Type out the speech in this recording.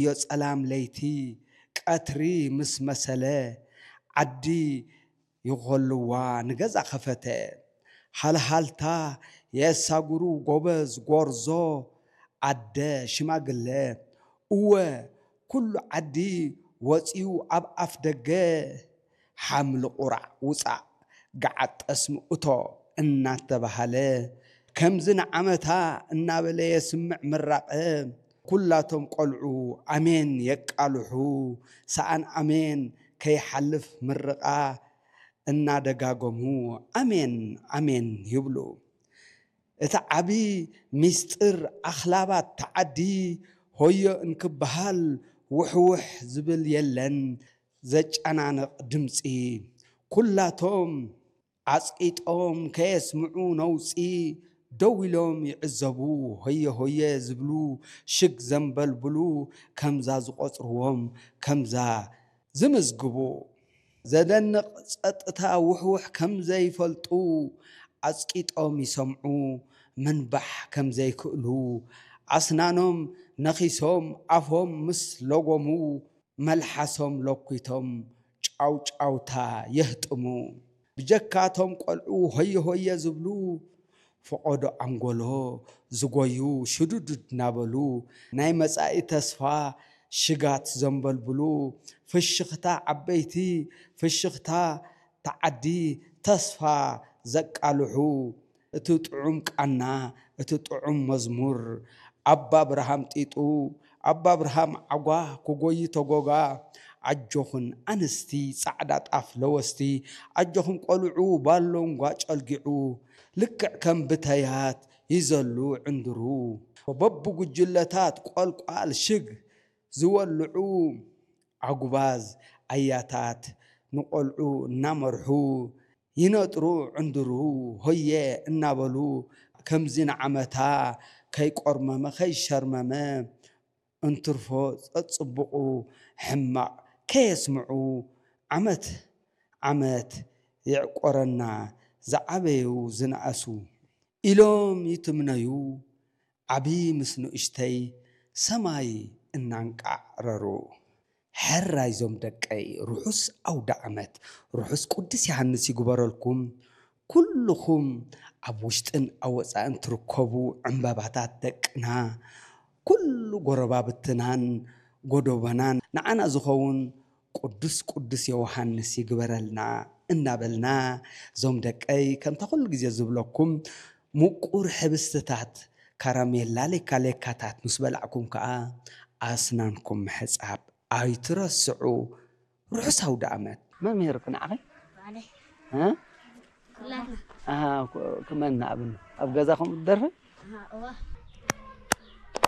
ዮ ጸላም ለይቲ ቀትሪ ምስ መሰለ፣ ዓዲ ይኾልዋ ንገዛ ኸፈተ። ሃልሃልታ የሳጉሩ ጎበዝ ጎርዞ ኣደ ሽማግለ። እወ ኩሉ ዓዲ ወጺኡ ኣብ ኣፍ ደገ፣ ሓምሊ ቁራዕ ውጻእ፣ ገዓት ጠስሚ እቶ እናተባሃለ፣ ከምዚ ንዓመታ እናበለ የስምዕ ምራቐ። ኩላቶም ቆልዑ ኣሜን የቃልሑ፣ ሰኣን ኣሜን ከይሓልፍ ምርቓ እናደጋገሙ ኣሜን ኣሜን ይብሉ። እቲ ዓቢ ሚስጥር ኣኽላባት ተዓዲ ሆዮ እንክበሃል ውሕውሕ ዝብል የለን ዘጨናንቕ ድምጺ። ኩላቶም ኣጽቂጦም ከየስምዑ ነውጺ ደው ኢሎም ይዕዘቡ። ሆየ ሆየ ዝብሉ ሽግ ዘንበልብሉ ከምዛ ዝቖጽርዎም ከምዛ ዝምዝግቡ። ዘደንቕ ጸጥታ ውሕውሕ ከም ዘይፈልጡ ኣጽቂጦም ይሰምዑ። ምንባሕ ከም ዘይክእሉ ኣስናኖም ነኺሶም ኣፎም ምስ ለጎሙ መልሓሶም ለኲቶም ጫውጫውታ የህጥሙ። ብጀካቶም ቆልዑ ሆየ ሆየ ዝብሉ ፈቐዶ ኣንጎሎ ዝጎዩ ሽዱድድ እናበሉ ናይ መጻኢ ተስፋ ሽጋት ዘንበልብሉ ፍሽኽታ ዓበይቲ ፍሽኽታ ተዓዲ ተስፋ ዘቃልሑ እቲ ጥዑም ቃና እቲ ጥዑም መዝሙር ኣባ ኣብርሃም ጢጡ ኣባ ኣብርሃም ዓጓ ክጎዪ ተጎጋ ኣጆኽን ኣንስቲ ጻዕዳ ጣፍ ለወስቲ ኣጆኹም ቆልዑ ባሎንጓ ጨልጊዑ ልክዕ ከም ብተያት ይዘሉ ዕንድሩ በብጉጅለታት ቆልቋል ሽግ ዝወልዑ ኣጉባዝ ኣያታት ንቆልዑ እናመርሑ ይነጥሩ ዕንድሩ ሆየ እናበሉ ከምዚ ንዓመታ ከይቆርመመ ከይሸርመመ እንትርፎ ጸጽቡቑ ሕማቕ ከየስምዑ ዓመት ዓመት የዕቆረና ዝዓበዩ ዝነኣሱ ኢሎም ይትምነዩ ዓቢ ምስ ንእሽተይ ሰማይ እናንቃዕረሩ። ሕራይ ዞም ደቀይ ርሑስ ኣውደ ዓመት ርሑስ ቅዱስ ዮሃንስ ይግበረልኩም። ኩልኹም ኣብ ውሽጥን ኣብ ወጻእን ትርከቡ ዕምበባታት ደቅና ኩሉ ጎረባብትናን ጎደቦናን ንዓና ዝኸውን ቅዱስ ቅዱስ ዮሃንስ ይግበረልና እናበልና ዞም ደቀይ ከምታ ኩሉ ግዜ ዝብለኩም ምቁር ሕብስትታት ካራሜላ ሌካ ሌካታት ምስ በላዕኩም ከኣ ኣስናንኩም ምሕጻብ ኣይትረስዑ። ርሑስ ኣውደ ኣመት። መን ምሂሩኪ ንዓኺ? ባዕለይ። እ? ኩላትና። ኣሃ፣ ኩ-፣ ክመን ንኣብን ኣብ ገዛኹም ትደርፊ? ኣሃ፣ እዋ።